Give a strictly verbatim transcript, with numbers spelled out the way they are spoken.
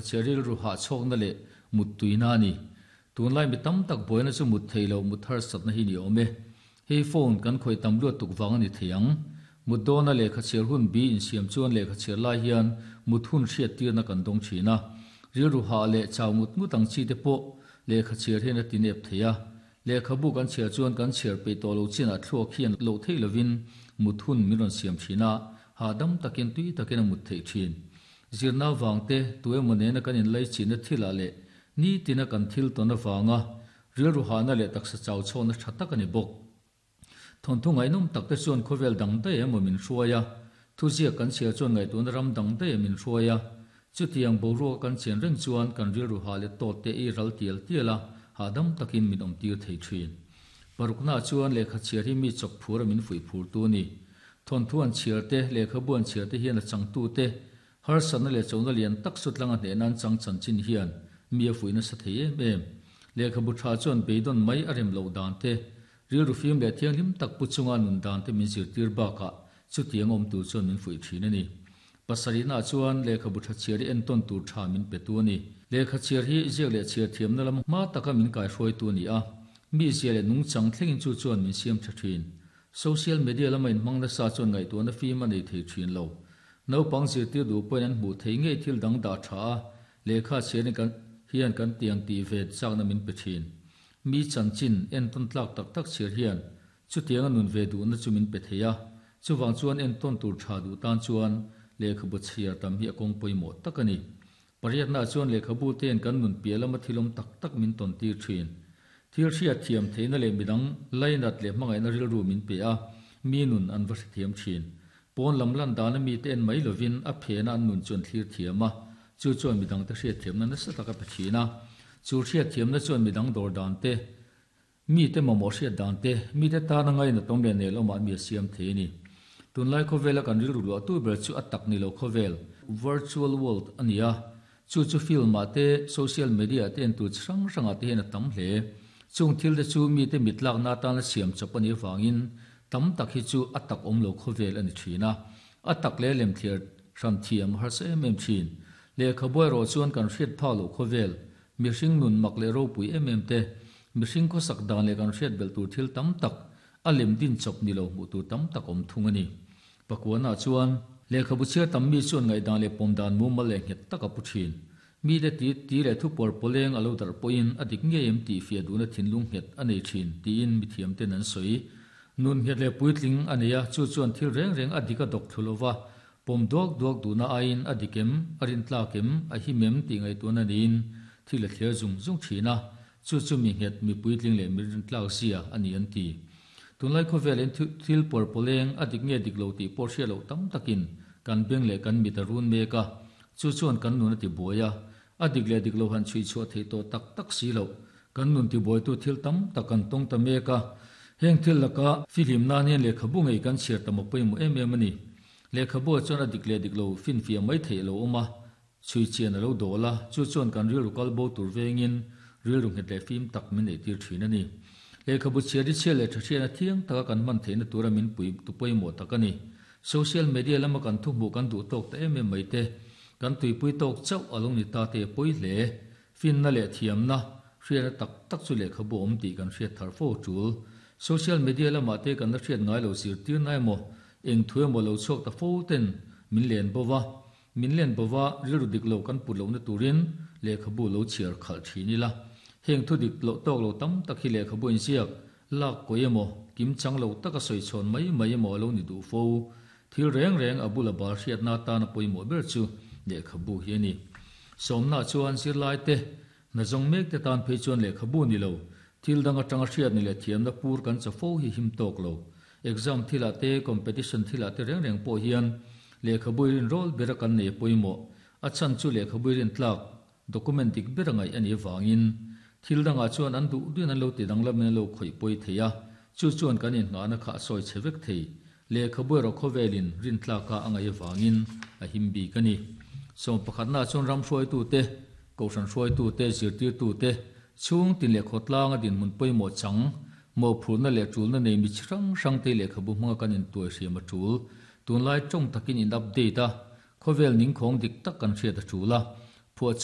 Chhiar rilru hah chhawkna leh mut tuina a ni. Tunlai mi tam tak buaina chu mut thei lo mut harsatna hi ni awm e. Hei phone kan khawih tam luat tuk vang a ni thei ang. Mut dawna lehkha chhiar hun bi insiam chuan lehkha chhiar lai hian mut hun hriat tirna kan dawng thin a. Rilru hah leh chau ngut ngut ang chi te pawh lehkha chhiar hian a ti nep thei a. Lehkhabu kan chhiar chuan kan chhiar peih tawh lo chinah thluak hian loh theih lovin mut hun min rawn siam thin a, hahdam takin tui takin a mut theih thin. Zirna vang te, tu emaw nena kan inlaichinna thilah leh nitina kan thil tawn avanga rilru hahna leh taksa chau chhawkna tha tak a ni bawk. Thawnthu ngaihnawm tak te chuan khawvel dang daih emaw min hruai a, thuziak kan chhiar chuan ngaihtuahna ram dang daih min hruai a. Chutiang boruaka kan chen reng chuan kan rilru hah leh tawt te ei ral tial tial a, hahdam takin min awm tir thei thin. Paruknaah chuan lehkha chhiar hi mi chawk phur a min fuih phur tu a ni. Thawnthu an chhiar te, lehkhabu an chhiar te hian a changtu te, harsatna leh chona lian tak sutlanga hnehna an chang chanchin hian mi a fuih nasa thei em em. Lehkhabu tha chuan beidawn mai a rem loh dan te, rilru fim leh thianghlim tak pu chunga nun dan te min zirtir bakah chutiang awm tur chuan min fuih thin a ni. Pasarihnaah chuan lehkhabu tha chhiar hi entawn tur tha min pe tu a ni. Lehkha chhiar hi ziak leh chhiar thiamna lam hma taka min kaihruaitu a ni a, mi zia leh nungchang thlengin chu chuan min siam tha thin. Social media lama inhmang nasa chuan ngaihtuahna fim a nei thei thin lo. Naupang zirtir duh pawhin an hmuh thei ngei thil dang dah tha a, lehkha chhiarin kan hian kan tiang tih ve chakna min pe thin. Mi chanchin entawn tlak tak tak chhiar hian chutianga nun ve duhna chu min pe thei a, chuvang chuan entawn tur tha duh tan chuan lehkhabu chhiar tam hi a kawng pawimawh tak a ni. Pariatnaah chuan lehkhabu te'n kan nun piah lama thilawm tak tak min tawn tir thin. Thil hriat thiam theihna leh midang lainat leh hmangaihna rilru min pe a, mi nun an va hrethiam thin. Pawn lam lan dana mi te en mai lovin a phena an nun chu an thlir thiam a, chu chuan midang te hriat thiamna nasa taka pe thin a. Chu hriat thiamna chuan midang dawr dan te, mi te mamawh hriat dan te, mi te tana ngaina tawm leh nel awmah mi a siam thei a ni. Tunlai khawvela kan rilru luah tu ber chu a tak ni lo khawvel, virtual world a ni a. Chu chu film ah te, social media te en tur chi hrang hrangah te hian a tam hle. Chung thil te chu mi te mitlakna atana siam chawp a nih avangin tam tak hi chu a tak awm lo khawvel a ni thin a. A tak leh lem thliar hran thiam harsa em em thin. Lehkhabu erawh chuan kan hriat phak loh khawvel, mihring nun mak leh ropui em em te, mihring khawsak dan leh kan hriat belh tur thil tam tak, a lem din chawp ni lo hmuh tur tam tak awm thung a ni. Pakuanaah chuan lehkhabu chhiar tam mi chuan ngaihdan leh pawm dan mumal leh nghet tak a pu thin. Mi te ti ti leh thu pawr pawleng a lo darh pawhin a dik ngei em tih fiah duhna thinlung nghet a nei thin tiin mi thiam ten an sawi. Nun nghet leh puitling a nei a, chu chuan thil reng reng a dik a dawk thlu lova, pawm duak duak duhna aiin a dik em, a rin tlak em, a him em tih ngaihtuahna neiin thil a thler zung zung thin a, chu chu mi nghet, mi puitling leh mi rin tlak zia a ni an ti. Tunlai khawvelin thil pawr pawleng a dik nge dik lo tih pawh hriat loh tam takin kan beng leh kan mit a run mek a, chu chuan kan nun a ti buai a, a dik leh dik lo han chhui chhuah theih tawh tak tak si loh. Kan nun ti buaitu thil tam tak kan tawng ta mek a, heng thil laka fihlim nan hian lehkhabu ngei kan chhiar tam a pawimawh em em a ni. Lehkhabu ah chuan a dik leh dik lo finfiah mai theih a lo awm a, chhui chian a lo dawl a, chu chuan kan rilru kal bo tur vengin rilru nghet leh fim tak min neih tir thin a ni. Lehkhabu chhiar hi chhiar leh tha hriatna thiang taka kan hman theihna tura min pui tu pawimawh tak a ni. Social media lama kan thu hmuh kan duh tawk ta em em mai te, kan tuipui tawk chauh a lo ni ta te a pawi hle. Finna leh thiamna hriatna tak tak chu lehkhabu awm tih kan hriat thar fo tul. Social media lamah te kan la hriat ngai lo zirtirna emaw, eng thu emaw lo chhuak ta fo ten min len bova, min len bova rilru dik lo kan put lohna turin lehkhabu lo chhiar khalh thin ila. Heng thu dik loh tawk lo tam tak hi lehkhabu inziak lak kawi emaw, kim chang lo taka sawi chhawn mai mai emaw a lo ni duh fo. Thil reng reng a bula bal hriatna atana pawimawh ber chu lehkhabu hi a ni. Sawmnaah chuan zirlai te, hna zawng mek te tan phei chuan lehkhabu ni lo, thil dang atanga hriat ni leh thiamna pur kan cha fo hi him tawk lo. Exam thilah te, competition thilah te reng reng pawh hian lehkhabu i rin rawl bera kan nei a pawimawh. A chhan chu lehkhabu i rin tlak document dik ber a ngaih a nih avangin thil dangah chuan an duh duhin an lo ti danglamin an lo khawih pawi thei a, chu chuan kan inngahna kha a sawi chhe vek thei. Lehkhabu erawh khawvelin rin tlaka a ngaih avangin a him bik a ni. Sawm pakhatnaah chuan ram hruaitu te, kohhran hruaitu te, zirtirtu te, chhung tin leh khawtlanga dinhmun pawimawh chang, mawhphurhna leh tulna nei mi chi hrang hrang te lehkhabu hmanga kan intuai hriam a tul. Tunlai tawng takin in update a, khawvel ningkhawng dik tak kan hriat a tul a, Phuahchawp